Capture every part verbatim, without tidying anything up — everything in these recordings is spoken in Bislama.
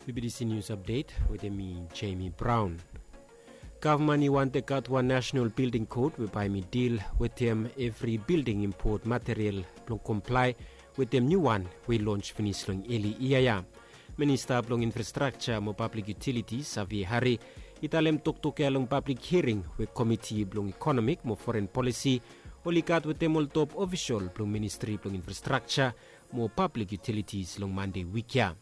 B B C News Update wetem mi, Jamie Brown. Gavman i wante gat wan national building code we bae mi dil wetem evri building import material blong komplae wetem niu wan we i lons finis long eli yia ya. Minista blong Infrastrakja mo Pablik Yutiliti, Savi Hari, i talem toktok ya long pablik hiring we Komiti blong Ikonomik mo Foren Polisi oli gat wetem ol top ofisol blong Ministri blong Infrastrakja mo Pablik Yutilitis long Mande wik ya.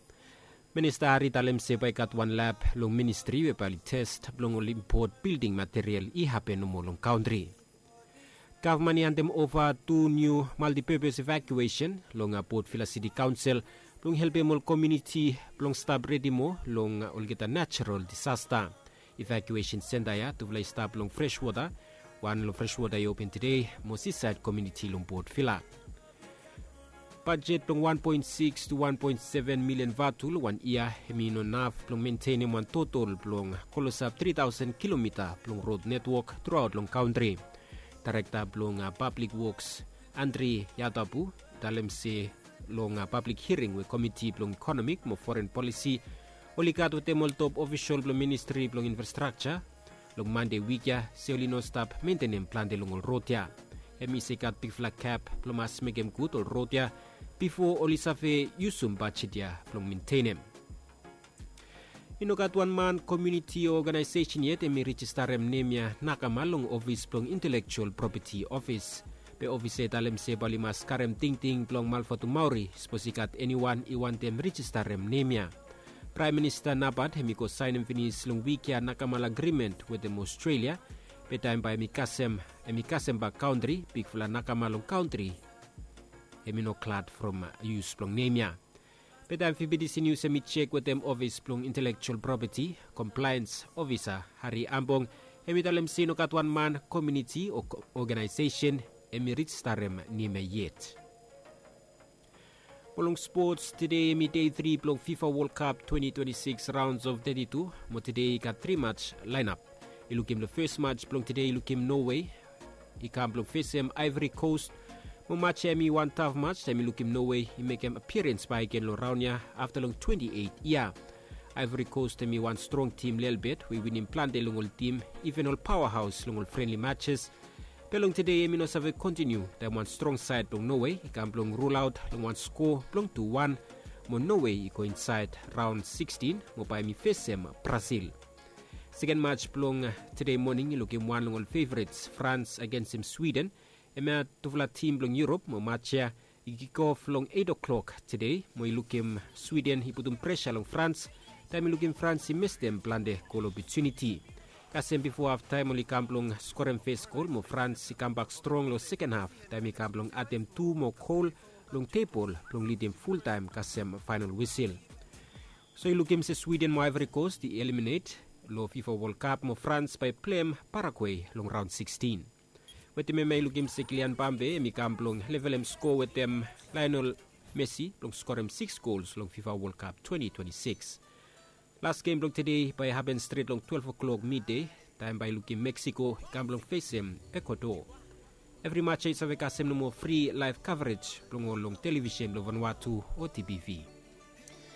Minista Hari i talem se bae i gat wan lab long ministri we bae oli tes blong ol impot bilding material i hapen nomo long kantri. Gavman i handem ova tu niu maltipepes evakuesen long Port Vila Siti Kaonsel blong helpem ol komuniti blong stap redi moa long olgeta natural disasta. Evakuesen senta ya tufala i stap long Freshwota. Wan long Freshwota i open tede mo Sisaed komuniti long Port Vila. Bajet blong wan poen sikis tu wan poen seven milian vatu long wan yia hemi no naf blong mentenem wan totol blong klosap tri taosen kilomita blong rod netwok truaot long kantri. Daerekta blong Pablik Woks, Andri Yatabu, i talem se long pablik hiring we Komiti blong Ikonomik mo Foren Polisi oli gat wetem ol top ofisol blong Ministri blong Infrastrakja long Mande wik ya se oli no stap mentenem plante long ol rod ya. Hemi se i gat bigfala gap blong mas mekem gud ol rod ya bifo oli save yusum bajet ya blong mentenem. I no gat wan man, komuniti o oganaesesen yet hemi rejistarem nem ya nakama long ofis blong Intelekjual Propeti Ofis. Be ofis ya i talem se bae oli mas karem tingting blong Malvatumauri sapos i gat eniwan i wantem rejistarem nem ya. Praem Minista Napat hemi go saenem finis long wik ya nakamala agrimen wetem Ostrelia. Be taem bae hemi kasem, hemi kasem bak kantri, bigfala nakama long kantri hemi no glad from yus blong nem ya. Be taem B B C News hemi jek wetem ofis blong Intelekjual Propeti, Komplaens Ofisa Hari Ambong, hemi talem se i no gat wan man, komuniti o oganaesesen hemi rejistarem nem ya yet. Mo long spots, tede hemi dei tri blong FIFA World Cup twenty twenty-six rounds of thirty-two, mo tede i gat tri mats laenap. I lukim long fes mats blong tede i lukim Norway i kam blong fesem Ivory Coast. Mo mats ya hemi wan taf mats taem i lukim Norway i mekem apiarens bakegen long raon ya afta long twenti eit yia. Ivory Coast hemi wan strong tim lelebet we i winim plante long ol tim, iven ol paoahaos long ol frenli matses. Be long tede hemi no save kontiniu taem wan strong saed blong Norway i kam blong rulaot long wan skoa blong tu wan, mo Norway i go insaed raon sikisin mo bae hemi fesem Brazil. Seken mats blong tede moning i lukim wan long ol fevrets, Frans agensem Swiden. Hemia tufala tim blong Yurop, mo mats ya i kikof long eit oklok tede mo i lukim Swiden i putum presa long Frans taem i lukim Frans i mestem plante gol opotuniti. Kasem bifo haftaem oli kam blong skorem fes gol mo Frans i kambak strong long seken haf taem i kam blong adem tu moa gol long tebol blong lidim fultaem kasem faenol wisil. So i lukim se Swiden mo Ivory Coast i eliminet long FIFA World Cup mo Frans bae i pleim Paraguay long raon sikisin. Wetem hemia i lukim se Kylian Mbappe hemi kam blong levelem skoa wetem Lionel Messi blong skorem sikis gols long FIFA World Cup twenti twenti sikis. Las gem blong tede bae i hapen stret long twelef oklok midei taem bae i lukim Meksiko i kam blong fesem Ekuador. Evri mats ya i save kasem nomo fri laev kavrej blong ol long televisen blong Vanuatu o TPV.